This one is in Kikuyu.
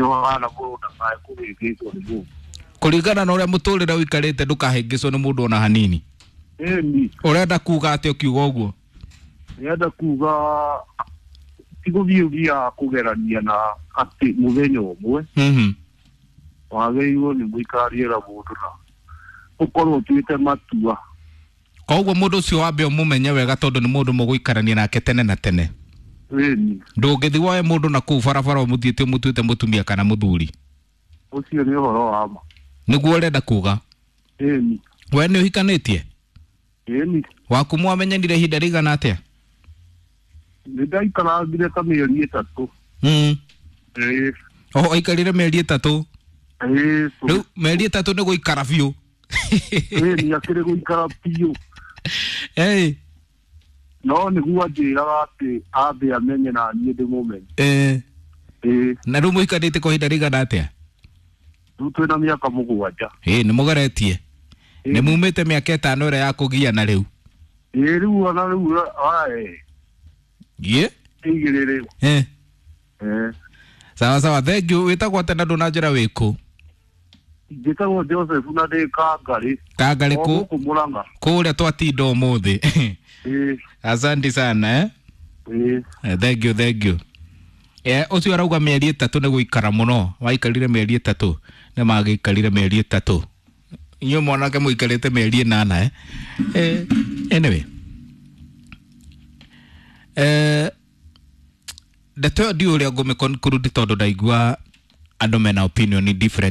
Ũhana mũndũ ndakae kũhĩngĩcwo nĩ mũndũ. Kũringana na ũrĩa mũtũrĩre ũikarĩte, ndũkahĩngĩcwo nĩ mũndũ ona hanini. Ĩni. Ũrenda kuga atĩa ũkiuga ũguo? Nĩenda kuga ti gũthiĩ ũthiaga kũgerania na atĩ mũthenya ũmwe. Wagĩrĩirwo nĩ mũikaranie na mũndũ na ũkorwo ũtuĩte matua. Koguo mũndũ ũcio wambe ũmũmenye wega, tondũ nĩ mũndũ mũgũikarania nake tene na tene. Ĩni. Ndũngĩthiĩ woe mũndũ na kũu barabara ũmũthiĩte ũmũtuĩte mũtumia kana mũthuri. Ũcio nĩ ũhoro wa ma. Nĩguo ũrenda kuga? Ĩni. We nĩ ũhikanĩtie? Ĩni. Waku mwamenyanire ihinda rĩigana atĩa? Nĩ ndaikarangire ta mĩeri 3. Ĩĩ. Oho, aikarire mĩeri 3? Ĩĩ. Rĩu mĩeri 3 nĩ gũikara biũ? Ĩni, akĩrĩ gũikara biũ. Ĩĩ. No nĩguo anjĩraga atĩ ambe amenye na niĩ ndĩmũmenye. Ĩĩ. Ĩĩ. Na rĩu mũikarĩte kwa ihinda rĩigana atĩa? Rĩu twĩna mĩaka 7. Ĩĩ, nĩ mũgeretie. Ĩĩ. Nĩ mumĩte mĩaka 5 ĩrĩa ya kũgiana rĩu. Ĩĩ, rĩu ona rĩu ae. Ĩĩ. Igĩrĩ rĩu. Ĩĩ. Ĩĩ. Sawa sawa, thank you. Wĩtagwo atĩa na ndũnanjĩra wĩkũ? Njĩtagwo Joseph na ndĩ Kangarĩ. Kangarĩ O kũ? gũkũ Mũrang'a. Kũrĩa twatinda ũmũthĩ. Ĩĩ. Asante sana, eh? Ĩĩ. Thank you, thank you. Ũcio arauga mĩeri 3 nĩ gũikara mũno. Waikarire mĩeri 3. Nĩ magĩikarire mĩeri 3. Inyuĩ mwanake mũikarĩte mĩeri 8, eh? Anyway. Ndeto ĩyo ndiũĩ ũrĩa ngũmĩ conclude tondũ ndaigua andũ mena opinion different.